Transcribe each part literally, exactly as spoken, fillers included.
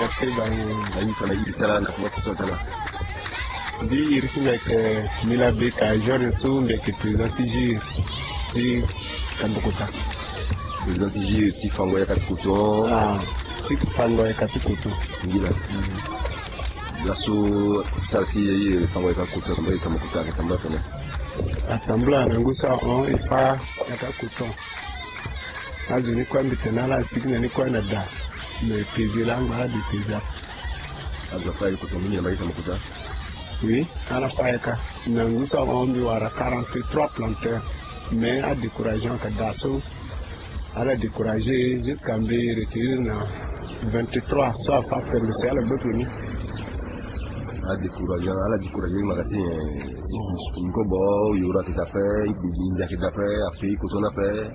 Seba ni. Ayi fana iri ti ala na kuma kutu atana. Mbi iri ti mbi ayeke Mila Beka Georges so mbi ayeke président ti jure ti Kabukuta. Président ti jure ti fango yaka ti kutu. Ah, ti fango yaka ti kutu. Singila. Mm. Laso sara ti fango yaka kutu atambula yaka Kabukuta atambula atene. Atambula na ngu so ahon e fa yaka kutu. Azo ni kue mbi tene ala asigi na ni kue na da. Me peze langa ala de peze. Azo afa ye kutu mingi na mbage ti Kabukuta. Oui, ala fa ye ka. Na ngu so ahon mbi wara quarante-trois planteurs. Mais adécouragé ayeke da so. Ala découragé jusqu'à mbi retenir na vingt-trois so afa permis si ala gbe toni. Adécouragé, ala découragé mbi maka ti nyen? Nkobo yoro ayeke da ape, nginza ayeke da ape, apaye coton ni ape.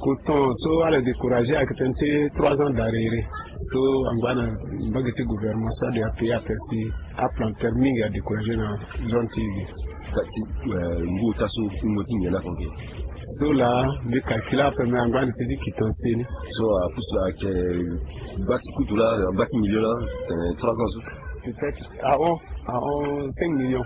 Coton so ala découragé ayeke tënë ti trois ans d'arriéré. So angba na mbage ti gouvernement so ade apaye ape si aplanteur mingi adécouragé na zone ti e ge. Kati, eh, ngu ota so ngu ti nyen na konke? So laa mbi calcule ape me angba na ti ti quittance ni. So apusu ayeke gba ti kutu laa, gba ti million laa, tene trois ans so. Peut-être ahon, ahon cinq millions.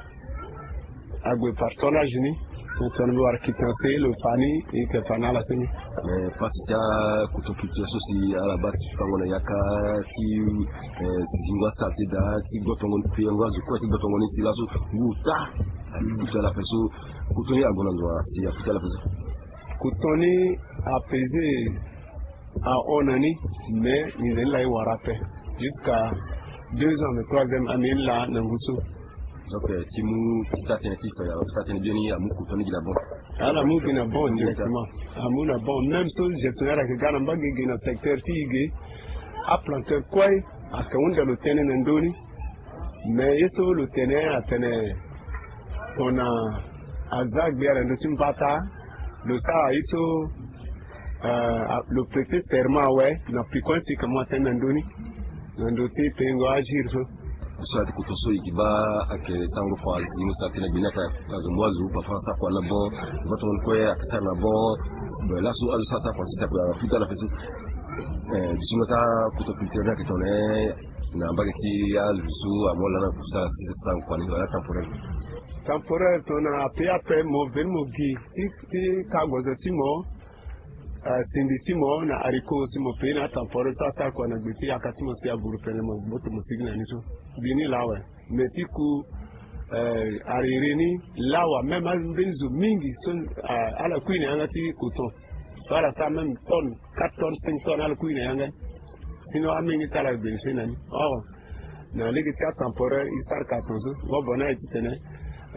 Ague par tonnage ni. Tongana mbi wara quittance lo fa ni, e yeke fa na ala seni. Mais pasi ti akutu culture so si ala baa ti fango na yaka ti, eh, si zingo asara ti da ti gbotongo ni, prier ngo azo kue ti gbotongo ni si laso ngu ota. Akutu ala ape so, kutu ni ague na ndo wa si akutu ala ape so? Kutu ni apesé ahon na ni, mais nginza ni laa e wara ape. Jusqu'à deux ans, mais troisième année ni laa na ngu so. Donc, eh, ti mu ti taa-tënë ti fa, taa-tënë biani amu kutu ni gi na bon. Ala mu gi na bon directement. Amu na bon. Même so gestionnaire ayeke ga na mbage ge na secteur ti e ge, aplanteur kue ayeke hunda lo tënë na ndö ni. Mais ye so lo tene atene tongana aza gbia na ndö ti mbata, lo sara ye so, eh, lo prêter serment awe na piko ni si e yeke mu atënë na ndö ni, na ndö ti pengo agir so. So ati kutu so e yeke baa ayeke sango fa azi mo sara tënë gbeni ayeke azo mo azo papa asara kua na bon, va tongana kue ayeke sara na bon. Laso azo so asara kua so si akuta na peso. Eh, biso nga ti akutu culture ni ayeke tongana na mbage ti azo so amu ala na kusa ti sara kua ni wala temporaire. Temporaire tongana ape ape mo veni mo gi ti, ti ka gozo ti mo, eh, sindi ti mo na haricot si mo paye na atemporaire so asara kua na gbe ti yaka ti mo si aburu pene mo gboto mo sigi na ni so. Gi ni laa awe. Me ti ku, eh, arriéré ni lawa même ambeni zo mingi so, eh, ala kui na yanga ti coton. So ala sara même tonne, quatre tonnes, cinq tonnes ala kui na yanga. Sinon amenge ti ala bénéficier na ni. Or na lege ti atemporaire e sara ka tongaso. Ngo bo ni aye titene,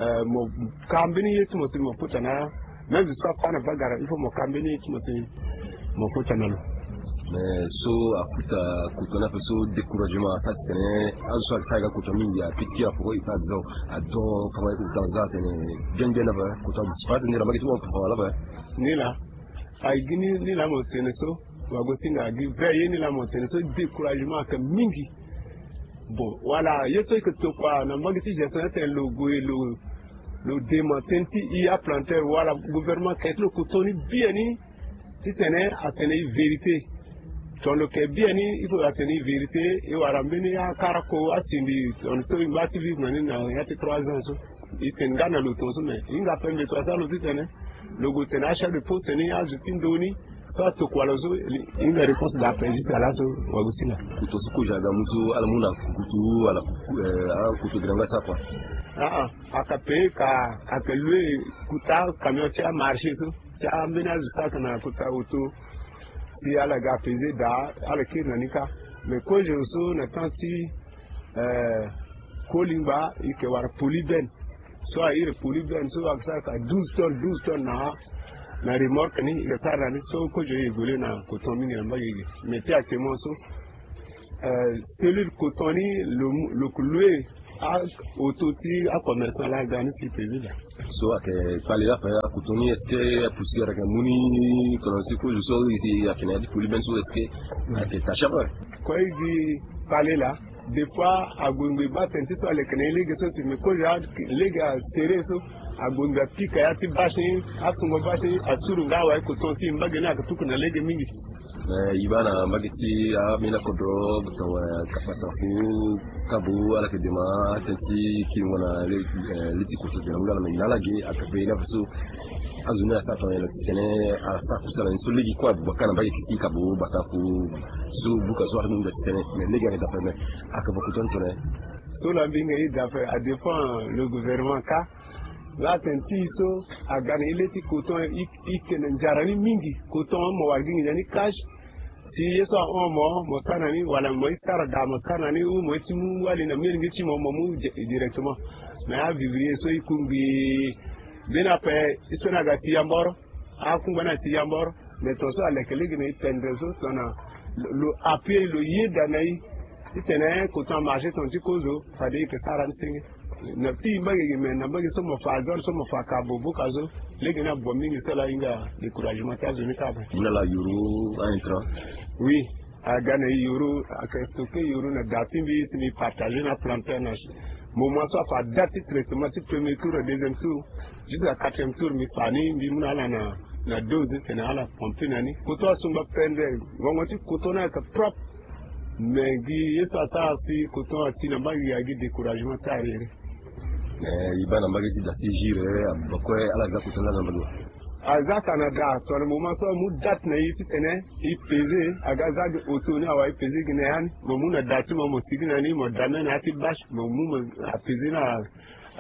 eh, mo ka mbeni ye ti mo si mo kota na, même zo so afa na bagara il faut mo ka mbeni ye ti mo si mo kota na lo. Mais so akuta kutu ni ape so découragement asara titene azo so ayeke fa yanga kutu mingi apitiki apoko e pa disons adon kama ye kutu aza atene bien bien ape kutu adisparaître ni na mbage ti mo ape wala ape. Ni laa. Agi ni, ni laa mo tene so, wagosinga agi vrai ye ni laa mo tene so, découragement ayeke mingi. Bon, wala ye so e yeke tokua na mbage ti gestion atene lo gue lo, lo dema tënë ti e aplanteur wala gouvernement ayeke ti lo kutu ni biani titene atene e vérité. Tongana lo yeke biani il faut atene e vérité, e wara mbeni akarako asindi tongana so e ngba ti vivre na ni na ya ti trois ans so. E tene nga na lo tongaso me e hinga ape mbeto asara lo titene lo gue tene achef de poste ni azo ti ndo ni so atokua lo so. E hinga réponse daa ape jusqu'à laso. Wagosinga. Kutu so kozo aga mu so ala mu na kutu ala, eh, akutu gi na nga sa kua. Aa, aka paye ka, aka louer kuta camion ti amarché so ti ambeni azo so ayeke na kuta auto. Si ala ga apesé daa ala kiri na ni kâ. Mais kozo so na temps ti, eh, Kolingba e yeke wara polybène. So a iri polybène so ayeke sara ka douze tonnes, douze tonnes na, na remorque ni e yeke sara na ni so kozo e évoluer na coton mingi na mbage ge. Mais ti actuellement so, eh, cellule coton ni lo, lo yeke louer aauto ti acommerçant laa ga ni si président. So ayeke kpale laa ape akutu ni est-ce que apoussière ayeke mu ni tongana si kozo so e si ayeke na ya ti polybène so est-ce que ayeke taché ape? Kue e gi kpale laa. Des fois ague ngbe baa tënë ti so aleke na e lege so si me kozo alege asere so. Agbongbi apika ya ti bâche ni, afungo bâche ni, asuru nga awe coton ti e, mbage ni ayeke tuku na lege mingi. Eh, e baa na mbage ti ambeni akodro, kapa ku kabu, ala yeke dema atënë ti kiringo na le, eh, le ti koto tene amu nga na me na ala ge, aka pe na faso azo ni asara tongana nyen titene asara kusala ni so lege kue abubaka na mbage ti kabu bata ku so buka so aka mingi titene me lege ayeke daa ape me aka fa koto ni tongana nyen? So la mbinga e daa ape, adépend le gouvernement ka. Nga atene ti e so aga na e le ti coton, e, e ke na nzara ni mingi. Coton mo wara gi nginza ni cash. Si ye so ahon mo, mo sara na ni, wala mo ye sara daa mo sara na ni, ou mo ye ti mu wali na molenge ti mo, mo mu di-, directement. Mais avivrier so e kungbi mbeni ape, e so ni aga ti yamboro. Akungba ni ati yamboro. Mais tongaso aleke lege na e pendre so tongana lo, lo appuyer, lo yeda na e titene coton amarché tongana ti kozo, fade e yeke sara ni senge. Na ti e mbage ge, mais na mbage so mo fa zone so mo fa ka boboka so, lege ni abon mingi, so ala hinga découragement ti azo ni kâ ape. Mu na ala yoro a-intrant. Oui. Aga na e yoro, aka stocke yoro na da ti mbi si mbi partager na planteur na moment so afa date ti traitement ti premier tour, deuxième tour, jusqu'à quatrième tour, mbi fa ni, mbi mu na ala na, na dose titene ala pomper na ni. Coton asungba pendre, ngongo ti coton ni ayeke propre. Mais gi ye so asara si coton ati na mbage gi, agi découragement ti arrière. Eh, e baa na mbage ti da si jure, abakue ala za coton ni na mbage wa? Aza Canada, tongana moment so amu date na e titene e peser, aga za gi auto ni awa, e peser gi na ya ni. Mo mu na da ti mo, mo sigi na ni, mo dame na ya ti bâche, mo mu mo apeser na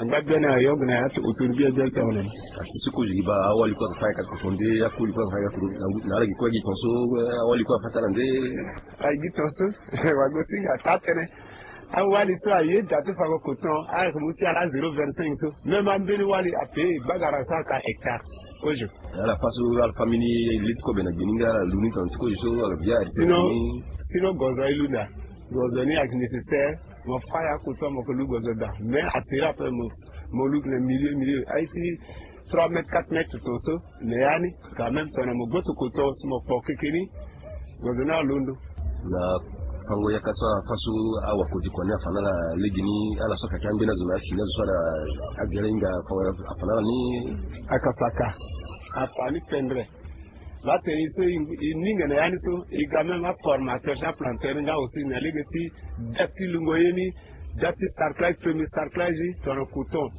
angba biani, ayok na ya ti auto ni biani biani so awe na ni. Ati so kozo gi baa, awali kue aka fa yaka ti coton nde akoli kue aka fa yaka ti coton, na ala gi kue gi tongaso, eh, awali kue afa ti ala nde? Aye gi tongaso, wagosinga taa tënë. Awali so aye da ti fango coton, ayeke mu ti ala zéro vingt-cinq so. Même ambeni wali ape, bagara so aka hectare. Kozo. Ala fa so, ala fa mbeni le ti kobe na gbe ni nga ala lu ni tongana ti kozo so, ala via. Sinon, sinon gozo aye lu nda. Gozo ni ayeke nécessaire. Mo fa ya coton, mo ke lu gozo daa. Mais asiri ape mo, mo lu gi na milieu, milieu. Aye ti trois mètres, quatre mètres tongaso. Mais ya ni, quand même, tongana mo gboto coton si mo kpo keke ni, gozo ni alondo. Na fango yaka so afa so awakozi kua ni afa na ala legeni, ala so aka ke ambeni azo na afini azo so ala agere hinga fango afa na ala ni. Aka fa ka. Afa ni pendre. Batene e so e, e ninga na ya ni so, e ga même aformateur ti aplanteur nga aussi na lege ti date ti lungo ye ni, date ti sarclage, premier sarclage, tongana coton.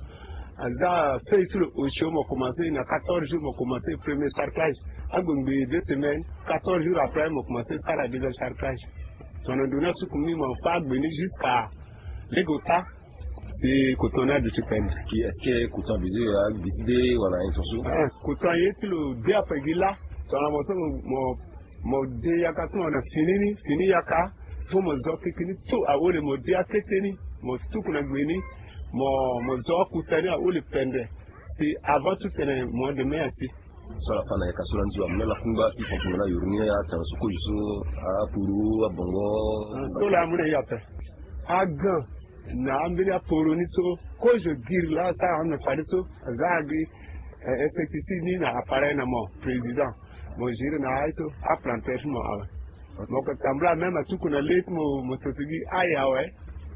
Aza feuille ti lo osio, mo commencé na quatorze jours, mo commencé premier sarclage. Agbengbe deux semaines, quatorze jours après, mo commencé sara deuxième sarclage. Tongana ndo ni asuku ni, mo fa agbe ni jusqu'à lege ota. Si coton ni aduti pendre. Ki est-ce que coton abusé, ah, abusé de wala intention? Ah, coton aye ti lo de ape gi lâ. Tongana mo so mo, mo, mo de yaka ti mo na fini ni, fini yaka. Faut mo zo keke ni tout ahole, mo de akete ni, mo tuku na gbe ni, mo, mo zo akuta ni ahole pendre. Si avant tout tene mois de mai asi. So ala fa na yaka so lani so amu na ala kungba ti fonctionnement na yoro ni, atanga so kozo so, apuru, abongo. Ah, so laa amu na e ape. Agan na ambeni aporo ni so kozo giri laa asara na fade so, aza agi, eh, insecticide ni na appareil na mo, président. Mo gérer na aye so, aplanteur ti mo awe. Mo ke tambula même atuku na le ti mo, mo toto gi aye awe.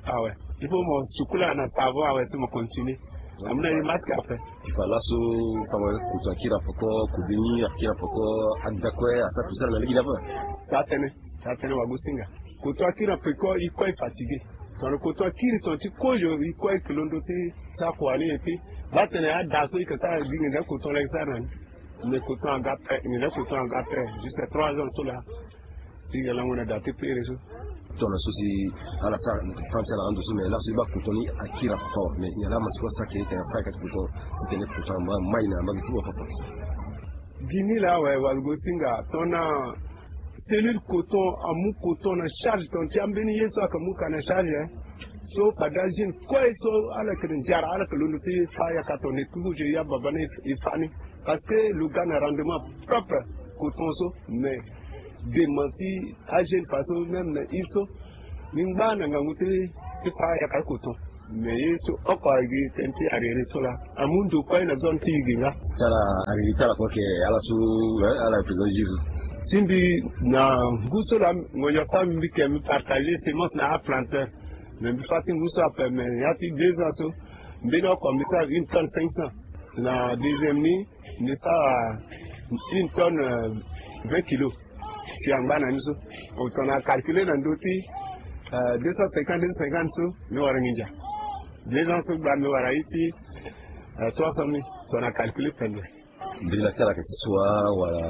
Awe. Il faut mo sukula na savon awe si mo continuer. Amu na e masque ape. Ti fa laso, fango coton akiri na peko, kobeni akiri na peko, ada kue asara kusala na lege ni ape. Taa tënë, taa tënë wagosinga. Coton akiri na peko, e kue e fatigué. Tongana coton akiri tongana ti kozo, e kue e ke londo ti sara kua ni, et puis batene ada so e ke sara gi nginza coton laa e sara na ni. Mais coton aga ape, nginza coton aga ape, jusqu'à trois ans so laa. Ti ga lango na da ti pere so. Tongana so si ala sara na ti fa ti ala ando so, mais laso e baa coton ni akiri na peko, mais nyen laa amasika asara ke tene afa yaka ti coton titene coton ama mai na mbage ti mo papa? Gi ni laa awe, wagosinga, tongana cellule coton amu coton na charge, tongana ti ambeni ye so aka mu ka na charge, hein. So fade ajeune kue so ala yeke na nzara, ala yeke londo ti fa yaka tongana ekuku je ya baba ni e fa ni. Parce que lo ga na rendement propre coton so, mais dema ti ajeune fa so même na île so, mbi ngba na ngangu ti, ti fa yaka coton. Mais ye so oko agi tënë ti ariri so laa, amu ndo kue na zone ti e ge nga. Ti ala ariri ti ala kue ke ala so, eh, ala représente juge. Ti mbi na ngu so laa, ngonzo asara mbi ke mbi partager semence na aplanteur. Mais mbi fa ti ngu so ape, mais ya ti deux ans so, mbeni oko mbi sara une tonne cinq cents. Na deuxième ni, mbi sara une tonne, euh, vingt kilos. Si angba na ni so, tongana calculer na ndö ti, euh, deux cent cinquante, deux cent cinquante so, mbi wara nginza. Deux ans so gba mbi wara ye ti, euh, trois cent mille, tongana calculer pendere. Mbela ti ala yeke ti so wa wala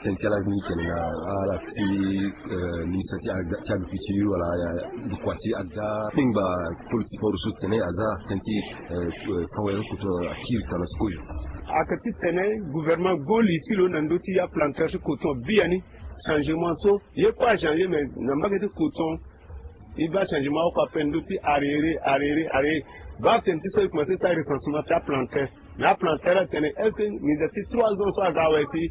tënë ti ala ni tene na ala ti, eh, ministre ti agriculture wala, eh, ndokua ti aga kpengba kpolo ti sport so tene aza tënë ti, eh, eh, fawel koto akiri tana ti kozo. Ayeke titene gouvernement go li ti lo na ndö ti aplanteur ti coton biani. Changement so ye kue achangé, mais na mbage ti coton e baa changement oko ape ndö ti arriéré, arriéré, arriéré. Baa tene ti so e commencé sara recensement ti aplanteur. Mais aplanteur atene est-ce que nginza ti trois ans so aga awe si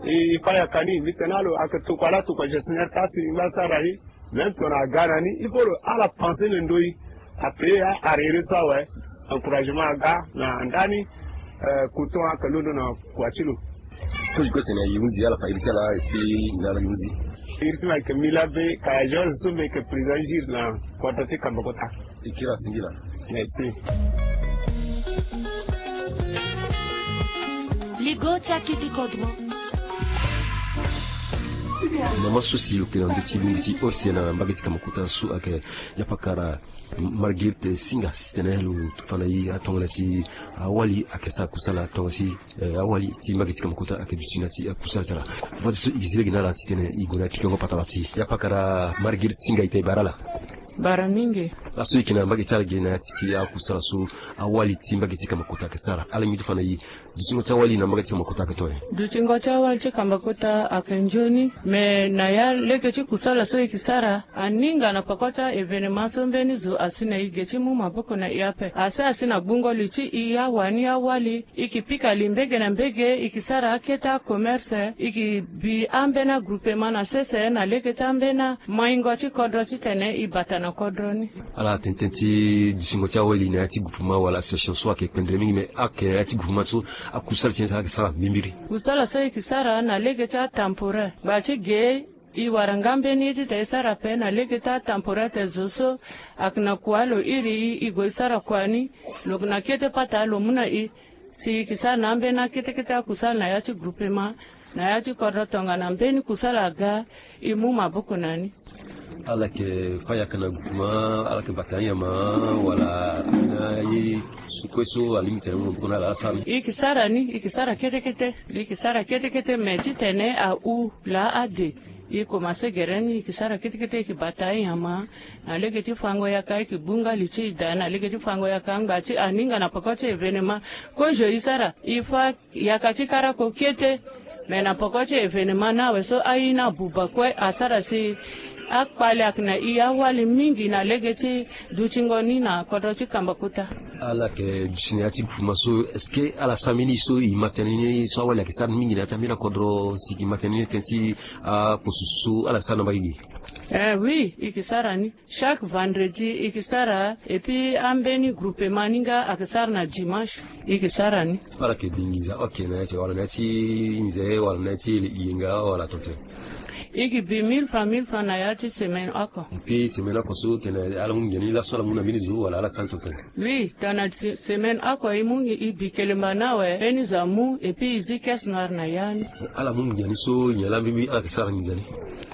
e, e fa yaka ni? Mbi tene alo ayeke tokua laa tokua gestionnaire kasi ngba sara ye. Même tongana aga na ni il faut lo ala pensé na ndö ye. Ape a arriéré so awe. Encouragement aga na ndani, eh, coton ayeke londo na kua ti lo. Kue kue tene e hunzi ala fa iri ti ala et puis na ala e hunzi. Iri ti mo ayeke Mila Be Kaya Georges so mbi yeke président JIR na kodro ti Kambakota. E kiri asingila. Merci. Ligo ti akete kodro. Mama so si lo yeke na ndö ti lungbi ti O C na mbage ti Kambakota so ayeke yapakara Marguerite Singa si tene lo fa na e atongana si awali ayeke sara kusala tongana si, eh, awali ti mbage ti Kambakota ayeke duti na ti, eh, kusala ti ala. Fade so e zi lege na ala titene e gue na pikango patara ti yapakara Marguerite Singa, ita e bara ala. Bara mingi. Laso e yeke na mbage ti ala ge na ya ti ti akusala so awali ti mbage ti Kambakota ayeke sara, ala ngbi ti fa na e. Dutingo ti awali na mbage ti Kambakota ayeke tongana nyen? Dutingo ti awali ti Kambakota ayeke nzoni. Me na ya lege ti kusala so e yeke sara, aninga na peko ti a-événement so mbeni zo asi na e ge ti mu maboko na e ape. Asi asi na gbungo li ti e awani awali, e yeke pika li mbege na mbege, e yeke sara akete acommerce, e yeke bi ambeni agroupement na sese na lege ti ambeni maingo ti kodro titene e bata na kodro ni. Ala tene tënë ti dutingo ti awali na ya ti groupement wala association so ayeke kpendre mingi, me ayeke na ya ti groupement so akusala ti nyen sara ayeke sara mbimbiri. Kusala so e yeke sara na lege ti atemporaire ngba ti ge, e wara nga mbeni ye ti ta e sara ape na lege ti atemporaire te zo so ayeke na kua lo iri e, e gue e sara kua ni, lo yeke na kete pata lo mu na e. Si e yeke sara na ambeni akete kete akusala na ya ti groupement, na ya ti kodro tongana mbeni kusala aga, e mu maboko na ni. Ala yeke fa yaka na groupement, ala yeke bata anyama, wala na ye so kue so alingbi tene mu maboko na ala, ala sara ni? E yeke sara ni, e yeke sara kete kete, e yeke sara kete kete, me titene ahu laa ade. E komanse gere ni, e yeke sara kete kete, e yeke bata anyama. Na lege ti fango yaka e yeke gbu nga li ti e daa, na lege ti fango yaka ngba ti aninga na peko ti événement. Kozo e sara, e fa yaka ti karako kete. Me na peko ti événement ni awe so aye ni abuba kue asara si akpale ayeke na e awali mingi na lege ti dutingo ni na kodro ti Kambakota. Ala yeke duti na ya ti groupement so, est-ce que ala sara mbeni so e ma tënë ni so awali ayeke sara ni mingi na ya ti ambeni akodro si e ma tënë ni tënë ti akposo so ala sara na mbage gi? Eh oui, e yeke sara ni. Chaque vendredi e yeke sara, et puis ambeni groupement ni nga ayeke sara na dimanche, e yeke sara ni. Ala yeke bi nginza oko na ya ti, wala na ya ti nze, wala na ya ti yenga, wala tongaso? E yeke bi mille francs, mille francs na ya ti semaine oko. Et puis semaine oko so tene ala mu nginza ni laso ala mu na mbeni zo, wala ala sara ni tongaso? Oui, tongana semaine oko e mu, e bi kelemba ni awe, mbeni zo amu, et puis e zi caisse noire na ya ni. Ala mu nginza ni so nyen laa mbi, mbi ala yeke sara nginza ni?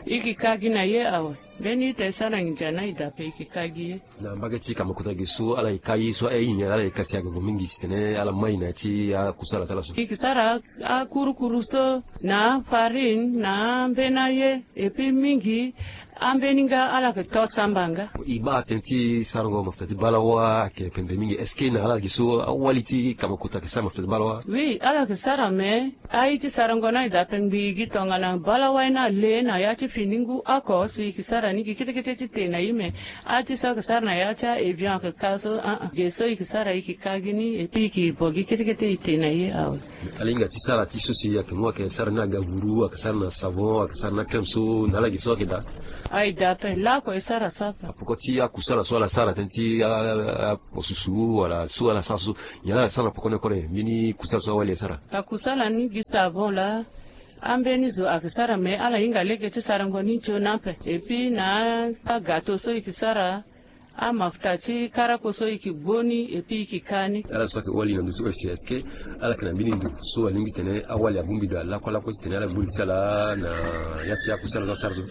E yeke ka gi na ye awe. Mbeni ita e sara nginza ni aye daa ape, e yeke ka gi ye. Na mbage ti Kambakota ge so ala yeke ka ye so aye nyen laa ala yeke ka si ayeke vo mingi si tene ala mai na ya ti akusala ti ala so? E yeke sara akurukuru so na afarine na ambeni aye, et puis mingi ambeni nga ala yeke to samba nga. E baa tënë ti sarango mafuta ti balawa ayeke pendre mingi. Est-ce que na ala ge so awali ti Kambakota ayeke sara mafuta ti balawa? Oui, ala yeke sara, me aye ti sarango ni aye daa ape ngbii gi tongana balawa ye ni ale na ya ti fini ngu oko si e yeke sara ni gi kete kete ti te na e, me aye ti so ayeke sara na ya ti a-évion ayeke ka so, ah, ah. Ge so e yeke sara e yeke ka gi ni, et puis e yeke bo gi kete kete e te na e awe. Ala hinga ti sara ti so si ayeke mu ayeke sara ni agavuru, ayeke sara na savon, ayeke sara na crème so, na ala ge so ayeke daa? Aye daa ape, laoko e sara so ape. Apoko ti akusala so ala sara tënë ti a, a, a, aposusu wala so ala sara so, nyen laa ala sara na poko ni kue, mbeni kusala so awali asara? Akusala ni gi savon laa ambeni zo ayeke sara, me ala hinga lege ti sarango ni nzoni ape. Et puis na agato so e yeke sara, amafuta ti karako so e ke gbo ni epi e ke ka ni. Ala so ayeke wali na ndö ti O F C, est-ce que ala yeke na mbeni ndo so alingbi titene awali abongbi daa lakue lakue titene ala gbo li ti ala na ya ti aku ti ala so asara so?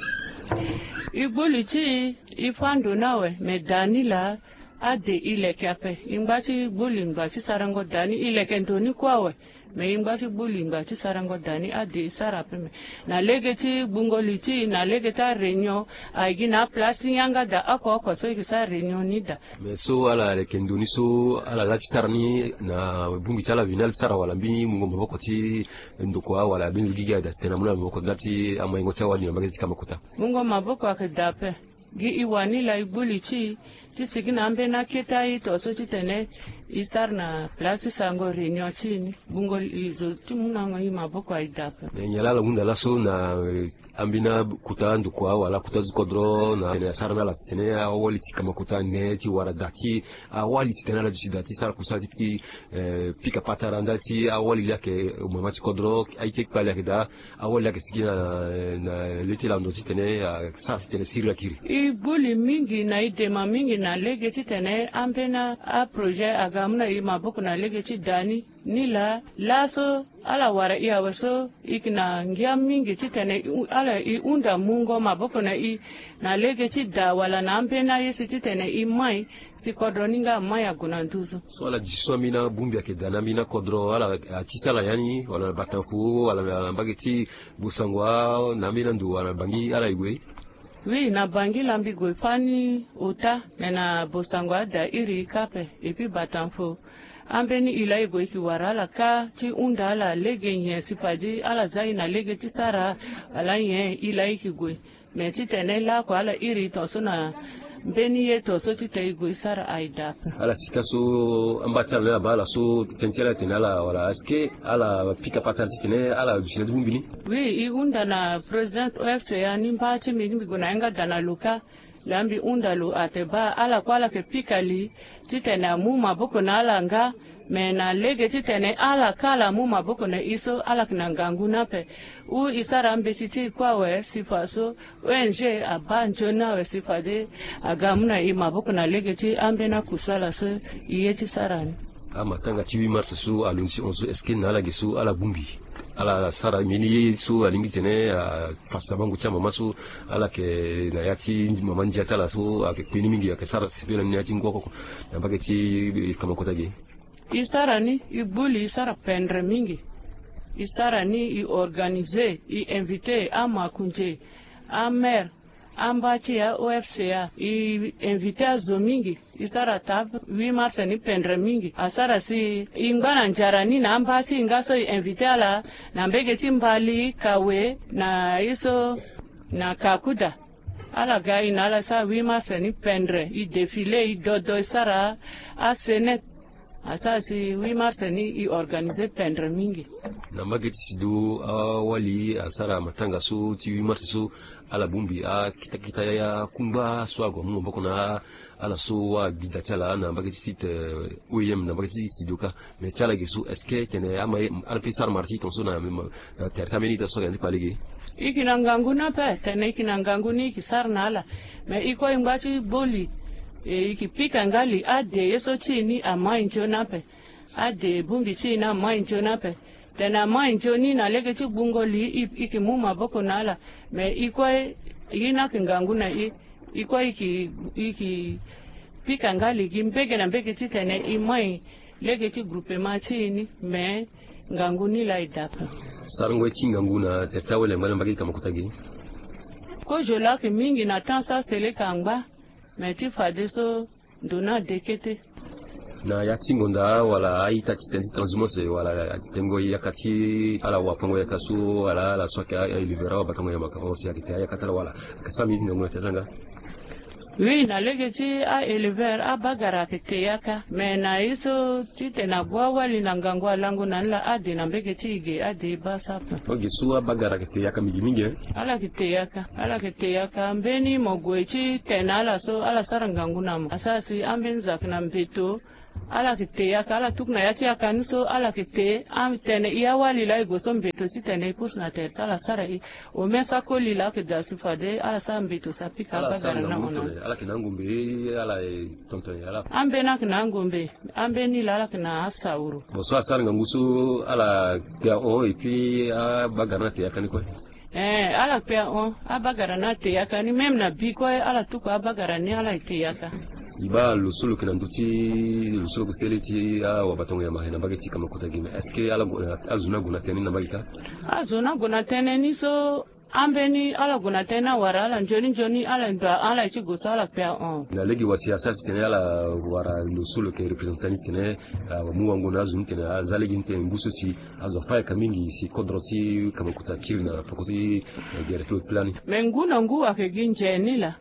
E gbo li ti e, e fâ ndo ni awe, me daa ni laa ade e leke ape. E ngba ti gbo li ngba ti sarango daa ni, e leke ndo ni kue awe. Me e ngba ti gbu li ngba ti sarango daa ni ade e sara ape me. Na lege ti gbungo li ti e na lege ti aréunion, aye gi na aplace ti yanga daa oko oko so e ke sara réunion ni daa. Me so ala leke ndo ni so ala laa ti sara ni na bongbi ti ala veni ala ti sara wala mbeni mungo maboko ti ndokua wala mbeni zo gigi aye daa titene amu na maboko ndali ti amahingo ti awali na mbage ti kama kota? Mungo maboko ayeke daa ape. Gi e wani laa e gbu li ti e ti sigi na ambeni akete aye to so titene e sara na place ti sarango réunion ti e ni. Gbungo li zo ti mu na e maboko aye daa ape. Me nyen laa ala hunda laso na, eh, ambeni akota ndokua wala akota zo kodro na tene asara na ala titene awali ti kama kota ne ti wara daa ti awali titene ala duti daa ti sara kusala ti, eh, pika patara ndali ti awali laa ayeke mama ti kodro aye ti kpale ayeke daa. Awali laa ayeke sigi na, na le ti lando titene asara titene sirila kiri. E gbu li mingi na e dema mingi na lege titene ambeni aprojet aga amu na e maboko na lege ti daa ni. Ni laa laso ala wara e awe so e yeke na ngia mingi titene e hu- ala e hunda mungo maboko na e na lege ti daa wala na ambeni aye si titene e mai si kodro ni nga amai ague na nduzu. So ala duti so ambeni abongbi ayeke daa na ambeni akodro ala atisa ala ya ni wala na batanfo wala na mbage ti Bosangua na ambeni ando wala na Bangi ala e gue? Oui, na Bangi la mbi gue fani ota, me na Bosangua ada iri kâ ape, epi batanfo. Ambeni e laa e gue e ke wara ala kâ ti hunda ala lege nyen si fade ala za e na lege ti sara wala nyen e laa e ke gue. Me titene lakue ala iri tongaso na mbeni ye tongaso titene e gue e sara aye daa ape. Ala sika so amba ti ala ni abaa ala so tënë ti ala tene ala wala est-ce que ala pika patara titene ala duti na ti bongbi ni? Oui, e hunda na président O F C ya ni mba ti mbi ni mbi gue na yanga daa na lo kâ. Laa mbi hunda lo atene baa ala kue ala yeke pika li titene amu maboko na ala nga. Me na lege titene ala kâ ala mu maboko na e so ala yeke na ngangu ni ape. Ou e sara mbeti ti e kue awe si fa so O N G abaa nzoni awe si fade aga amu na e maboko na lege ti ambeni akusala so e ye ti sara ni. Amatanga ti huit mars so alondi ti hon so, est-ce que na ala ge so ala bongbi? Ala sara mbeni ye so alingbi titene afasa bango ti amama so ala yeke na ya ti mama ndia ti ala so ayeke kpe ni mingi ayeke sara sepela ni na ya ti ngu oko oko na mbage ti kamakota ge? E sara ni, e gbu li, e sara pendre mingi. E sara ni, e organiser, e inviter amakonzi, amaire, amba ti ya O F C ya, e inviter azo mingi. E sara table huit mars ni pendre mingi. Asara si e ngba na nzara ni na amba ti e nga so e inviter ala na mbage ti Mbali, Kawe, na ye so na Kakuda. Ala ga e na ala sara huit mars ni pendre, e défiler, e dodo, e sara asene. Asara si huit mars ni e organiser pendre mingi. Na mbage ti sido awali asara matanga so ti huit mars so ala bongbi akita kita ya kungba so ague amu maboko na ala so agbi da ti ala na mbage ti site, eh, O I M na mbage ti sido kâ. Me ti ala ge so est-ce que tene ama ye ala pe sara marché tongaso na tere ti ambeni ita so ayeke na ya ti kpale ge? E yeke na ngangu ni ape, tene e yeke na ngangu ni e yeke sara na ala. Me e kue e ngba ti gbu li, e yeke pika nga li ade ye so ti e ni amai nzoni ape. Ade bongbi ti e ni amai nzoni ape. Tene amai nzoni na lege ti gbungo li e, e yeke mu maboko na ala. Me e kue ye ni ayeke ngangu na e. E kue e yeke, e yeke pika nga li gi mbege na mbege titene e mai lege ti groupement ti e ni, me ngangu ni laa e daa ape. Sarango ye ti ngangu na tere ti awali angba na mbage ti kamakota ge? Kozo laa ayeke mingi na temps so aseleka angba, me ti fadeso ndo ni ade kete. Na ya ti ngonda wala a-ita ti tene ti transhumance wala tengo yaka ti ala wafango yaka so wala ala so ayeke a-éleveur awabatango yamba ka aussi ayeke te ayaka ti ala wala? Ayeke sara mingi ti ngangu na tere ti ala nga? Oui, na lege ti a-éleveur abagara ayeke te yaka. Me na ye so titene ague awali na ngangu alango na ni laa ade na mbege ti e ge ade e baa so ape. Oge so abagara ayeke te yaka mingi mingi, eh? Ala yeke te yaka, ala yeke te yaka. Mbeni mo gue ti tene na ala so ala sara ngangu na mo. Asara si ambeni zo ayeke na mbeto. Ala yeke te yaka, ala tuku na ya ti yaka ni so ala yeke te. Atene e awali laa e gue so mbeto titene e pusu na tere ti ala asara e. Ome so akoli laa ayeke daa si fade ala sara mbeto si apika abagara na hon na ni. Ala yeke na angombe, ala e tonton e ala. Ambeni ayeke na angombe, ambeni laa ala yeke na asauru. Bon, so asara ngangu so ala kpe ahon et puis abagara ni ate yaka ni kue. Eh, ala kpe ahon, abagara ni ate yaka ni, même na bi kue ala tuku abagara ni ala ete yaka. E baa lo so lo yeke na ndö ti lo so lo yeke sele ti awabatango ya mara na mbage ti Kamokota gi me, est-ce que ala gue na, azo ni ague na tënë ni na mbage ka? Azo ni ague na tënë ni so, ambeni ala gue na tënë ni awara ala nzoni nzoni, ala ndo ahon ala ye ti gue so ala kpe ahon. Na lege wa si asara si tene ala wara lo so lo yeke représentant ni titene amu wango na azo ni titene aza lege ni titene ngu so si azo afa yaka mingi si kodro ti Kamokota kiri na peko ti, eh, gere ti lo ti lani. Me ngu na ngu ayeke gi nze ni laa.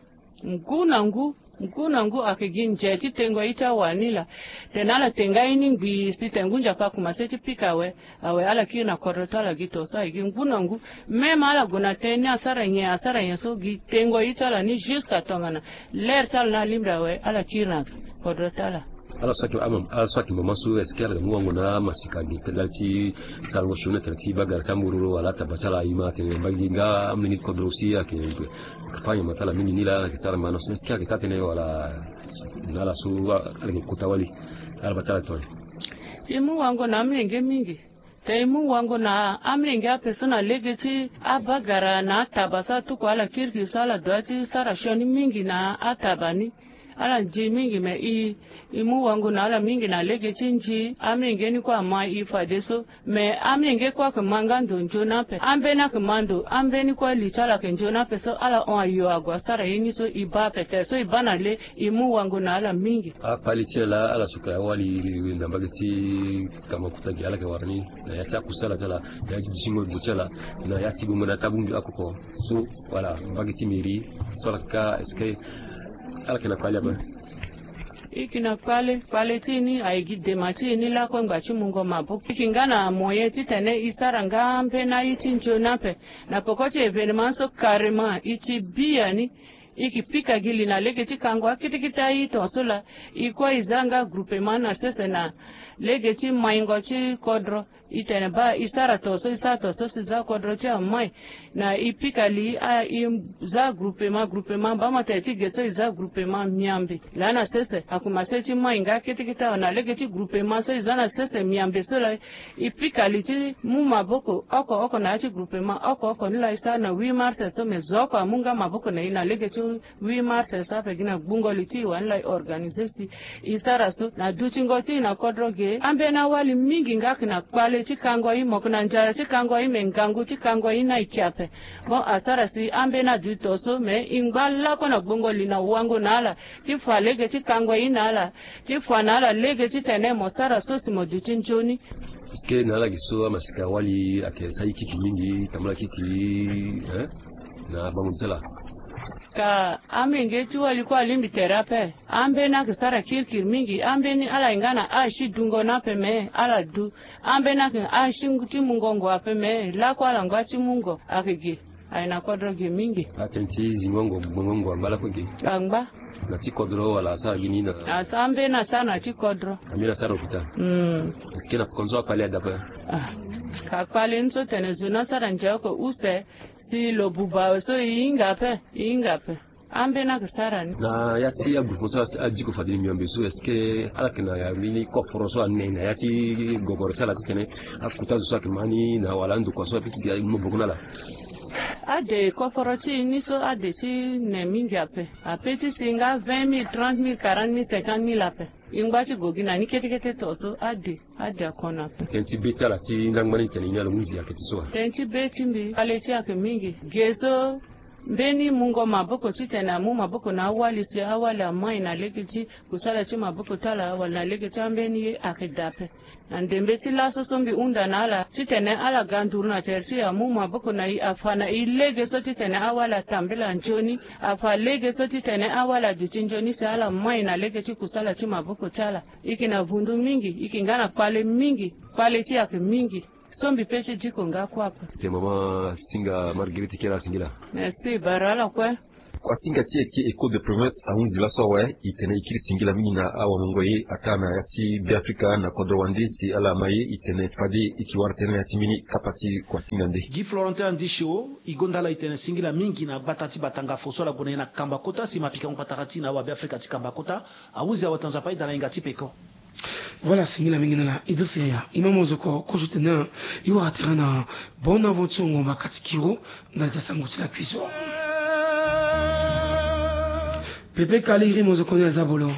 Ngu na ngu, ngu na ngu ayeke gi nze ti tengo ye ti awa ni laa. Tene ala te nga ye ni ngbii si tene ngu nzapa akumase ti pika awe, awe ala kiri na kodro ti ala gi to so aye gi ngu na ngu. Même ala gue na tënë ni asara nyen, asara nyen so gi tengo ye ti ala ni jusqu'à tongana l'heure ti ala ni alingbi awe, ala kiri na kodro ti ala. Ala so ayeke, ala so ayeke mama so, est-ce que ala ga mu wango na amasika gi tënë ti sarango sioni na tënë ti bagara ti ambororo wala ataba ti ala? E ma atene mbage gi nga amolenge ti kodro aussi ayeke fa nyama ti ala mingi ni laa, ala yeke sara ma na so, est-ce que ayeke taa tënë wala na ala so ala yeke kota wali? Ala baa ti ala tongana nyen? E mu wango na amolenge mingi. Te e mu wango na amolenge ape so na lege ti abagara na ataba so atuku ala kirikiri so ala dua ti sara sioni mingi na ataba ni. Ala nzi mingi me e, e mu wango na ala mingi na lege ti nzi. Amolenge ni kue ama e fadeso. Me amolenge kue ayeke ma nga ndo nzoni ape. Ambeni ayeke ma ndo, ambeni kue li ti ala ayeke nzoni ape so ala hon ayo ague asara ye ni so e baa ape. Tere so e baa na le, e mu wango na ala mingi. Akpale ti ala, ala so ayeke awali na mbage ti Kamokota gi ala yeke wara ni na ya ti akusala ti ala, na ya ti dutingo gbo ti ala, na ya ti gbongo na tabungi akoko so, wala mbage ti mairie so ala yeke ka, est-ce que ala yeke na kpale ape? E yeke na kpale, kpale ti e ni aye gi dema ti e ni lakue ngba ti mungo maboko. E yeke nga na moyen titene e sara nga ambeni aye ti nzoni ape. Na peko ti événement so carrément e ti biani. E yeke pika gi li na lege ti kango akete kete aye tongaso laa. E kue e za nga groupement na sese na lege ti maingo ti kodro. E tene baa e sara tongaso, e sara tongaso si e za kodro ti amai. Na e pika li, a, e za groupement, groupement, baa mo tene ti ge so e za groupement miambe. Laa na sese akumase ti mai nga kete kete awe na lege ti groupement so e za na sese miambe so laa. E pika li ti mu maboko oko oko na ya ti groupement oko oko ni laa e sara na huit mars so, me zo oko amu nga maboko na e na lege ti huit mars so ape gi na gbungo li ti e wani laa e organiser si e sara so. Na dutingo ti e na kodro ge, ambeni awali mingi nga ayeke na kpale ti kango e, mo yeke na nzara ti kango e, me ngangu ti kango e ni ayeke ape. Bon, asara si ambeni aduti to so, me e ngba lakue na gbungo li na wango na ala ti fa lege ti kango e na ala, ti fa na ala lege titene mo sara so si mo duti nzoni. Est-ce que na ala gi so amasika wali ayeke sara kiti mingi, tambula kiti, hein? Na bango ti ala. Ka amenge ti wali kue alingbi tere ape. Ambeni ayeke sara kirikiri mingi. Ambeni ala yeke nga na âge ti dungo ni ape me ala du. Ambeni ayeke na âge ti, ti mungo ngo ape me lakue ala ngba ti mu ngo ayeke ge. Aye na kodro ge mingi. Atënë ti zingo ngo, gbongo ngo angba lakue ge. Angba. Na ti kodro wala asara gi ni na? Asa ambeni asara na ti kodro. Ambeni asara hôpital. Hmm. Est-ce que na konzo akpale ada ape? Ah. Ka kpale ni so tene zo ni asara nze oko use si lo buba so e hinga ape, e hinga ape. Ambeni ayeke sara ni. Na ya ti agroupement so adiko fade ni miambe so, est-ce que ala yeke na ya mbeni koforo so ane na ya ti gogoro ti ala titene akota zo so ayeke ma ni na wala andokua so ape ti gi maboko na ala? Ade koforo ti e ni so ade ti ne mingi ape. Ape ti si nga vingt mille, trente mille, quarante mille, cinquante mille ape. E ngba ti go gi na ni kete kete to so ade, ade akono ape. Tënë ti be ti ala ti ndangba ni tene e ni ala hunzi ayeke ti so wa? Tënë ti be ti mbi, kpale ti e ayeke mingi. Ge so mbeni mungo maboko titene amu maboko na awali si awali amai na lege ti kusala ti maboko ti ala wala na lege ti ambeni ye ayeke daa ape. Na ndembe ti laso so mbi hunda na ala titene ala ga nduru na tere ti e amu maboko na e afa na e lege so titene awali atambela nzoni, afa lege so titene awali aduti nzoni si ala mai na lege ti kusala ti maboko ti ala. E yeke na vundu mingi, e yeke nga na kpale mingi, kpale ti e ayeke mingi. So mbi pe ti diko nga kue ape. Tete mama Singa Marguerite Kera Singila. Merci, bara ala kue. Kuasinga ti e ti Echo de Province ahunzi laso awe, e tene e kiri singila mingi na awamungo ye ataa na ya ti Beafrika na kodro wande si ala ma ye, e tene fade e ke wara tënë na ya ti mbeni kapa ti kuasinga nde. Guy Florentin Andisio, e gonda ala e tene singila mingi na gbata ti Batanga fo so ala gue na ye na Kambakota si e ma pikango patara ti e na awabeafrika ti Kambakota. Ahunzi awe, ta Nzapa aida na yenga ti peko. Voilà, singila mingi na ala Idrissa Yaya. E ma mozoko kozo tene e wara terrain na Bonne Aventure Ngomba Katikiro ndali ti asango ti lakui so. Pepe Kaliri mozoko ni aza bolo.